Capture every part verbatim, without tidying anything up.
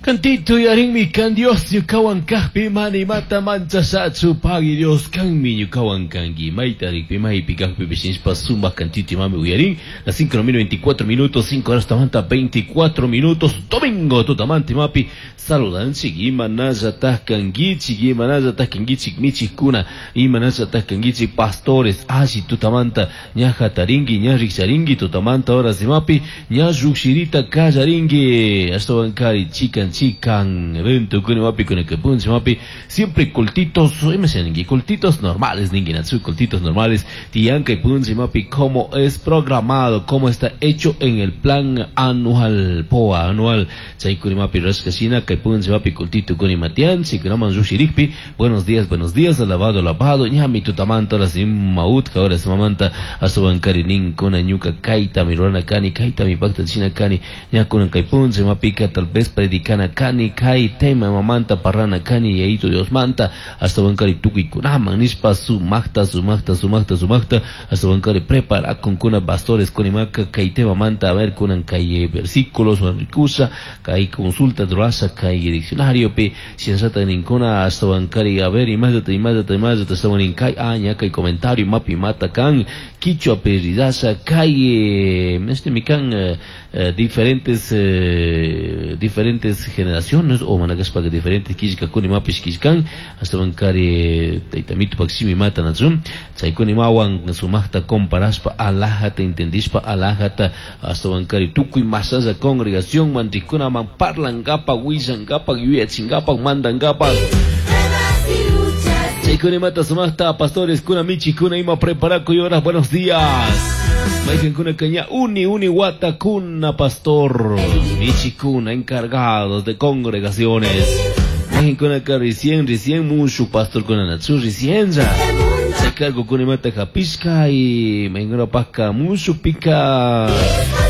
Cantito yarinmi kan Dios ñukawan kajpi mana imata manchashachu pagui Dios kanmi ñukawan kanki mayta rikpi maypi kajpipish nishpa sumak cantito imami uyarin las cinco veinticuatro minutos cinco horas tamanta veinticuatro minutos domingo tutamanta imapi saludanchik imanallataj kankichik imanallataj kankichik michikkuna imanallataj kankichik pastores alli tutamanta ña jatarinki ña rikcharinki tutamanta horas imapi ña llukshirita kallarinki ashtawankari chikan chikan evento kuni mapi kuna kepunchi mapi siempre cultitos imashaninki cultitos normales ninki natsu cultitos normales tiyanka punchi mapi como es programado como está hecho en el plan anual P O A anual chaykuni mapi rashkashina kay punchi mapi cultito kuni matianchi kunaman llushirikpi buenos días buenos días alabado alabado ñami tutamanta horas imautka horas mamanta ashtawankari ninkuna ñuka kaytami rurana kani kaytami paktachina kani ñakunan kay punchi mapika tal vez predicana kani kay tema mamanta parrana kani yaito Dios manta ashtawankari tukuykunaman nishpa sumakta sumakta sumakta sumakta ashtawankari preparakun pastores kunimaka kay tema manta a ver kunan kay versículos rikusa kay consulta rurasha kay diccionario pi shinallata ninkuna ashtawankari a ver imallata imallata imallata ashtawanin kay aña kay comentario mapi mata kan kichwa peridasha kay este mikan eh, eh, diferentes eh, diferentes generaciones o manakashpa que diferentes killkakuna imapish killkan ashtawankari taytamito pakshimi mata nachun chaykuna imawan sumakta comparashpa alajata entendishpa alajata ashtawankari tukuy masalla congregación manrikunaman parlankapak willankapak yuyachinkapak mandankapak chaykuna imata sumakta pastores kuna michikuna ima preparakuy horas buenos días Kuna caña uni uni wata kuna pastor michikuna encargados de congregaciones kuna ka recién recién mucho pastor kuna natsu recién ya se cargo kuna mata japisca y mengona paca mucho pica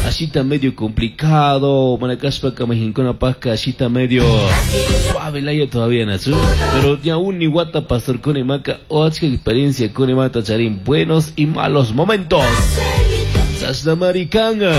así está medio complicado manacaspa ka mejincona paca así está medio suave la todavía natsu pero ya uni wata pastor kuna maca otra experiencia kuna mata charín buenos y malos momentos Sasnamaricanga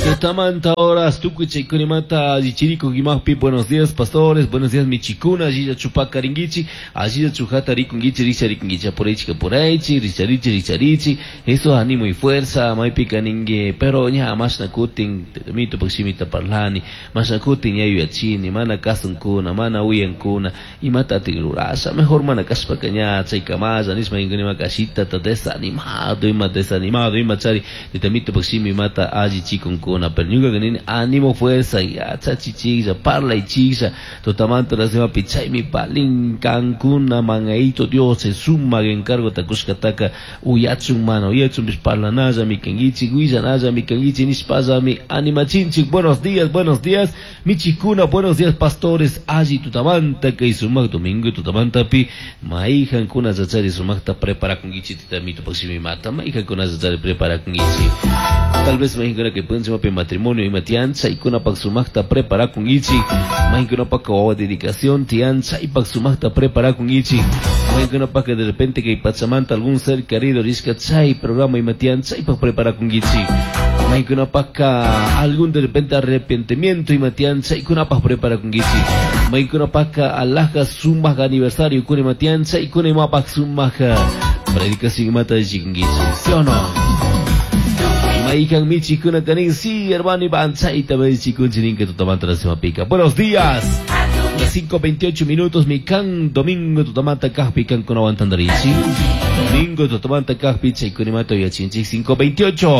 Tutamanta horas, tukuche kunimata, chichirico guimajpi, buenos días pastores, buenos días michikuna, allí chupacaringuichi, allí chujata rikunguichi, richarikunguichi, por ahí chica por ahí, richarichi, richarichi, eso ánimo y fuerza, maipica ningue, pero ña, más nakutin, mito paximita parlani, más nakutin ya yachini, mana kasunkuna, mana uyankuna, y mata tirurasa, mejor mana kaspacaña, chaykamaya, nisma ingunima kashita, ta desanimado, ima desanimado, ima chari, tamito paximi mata allí chikunkuna. Pero ñuka kanini ánimo fuerza ya chachichilla parla y chilla totamanta la sema pichaymi palin kankuna mangaito Dios se suma encargo takushkataka uyachun mano uyachun bis parlanalla mi kangichi willanalla mi kangichi nishpalla mi animachinchik buenos días buenos días michikuna buenos días pastores alli tutamanta kay sumak domingo tutamanta pi maijankuna chachari sumakta preparakunkichi titamito paximi mata maijankuna chachari preparakunkichi tal vez maijankuna que pueden matrimonio y matianza y kuna pak sumakta prepara con ichi mahinkuna pak dedicación tianza y pak sumakta prepara con ichi mahinkuna pak de repente que pachamanta algún ser querido risca chay programa y matianza y pak prepara con ichi mahinkuna pak algún de repente arrepentimiento y matianza y kuna pak prepara con ichi mahinkuna pak alaja sumaja aniversario kuna matianza y kuna mapak sumaja predicación y mata de chikunguichi ¿sí o no? Maijan michikuna kanin, sí, hermano Iván, chaita me chikunchinin que tutamanta la sema pica. Buenos días. Las cinco veintiocho minutos, mi can domingo tutamanta kajpi can con aguantandarichi. Domingo tutamanta kajpi chaikunimato yachinchi cinco veintiocho.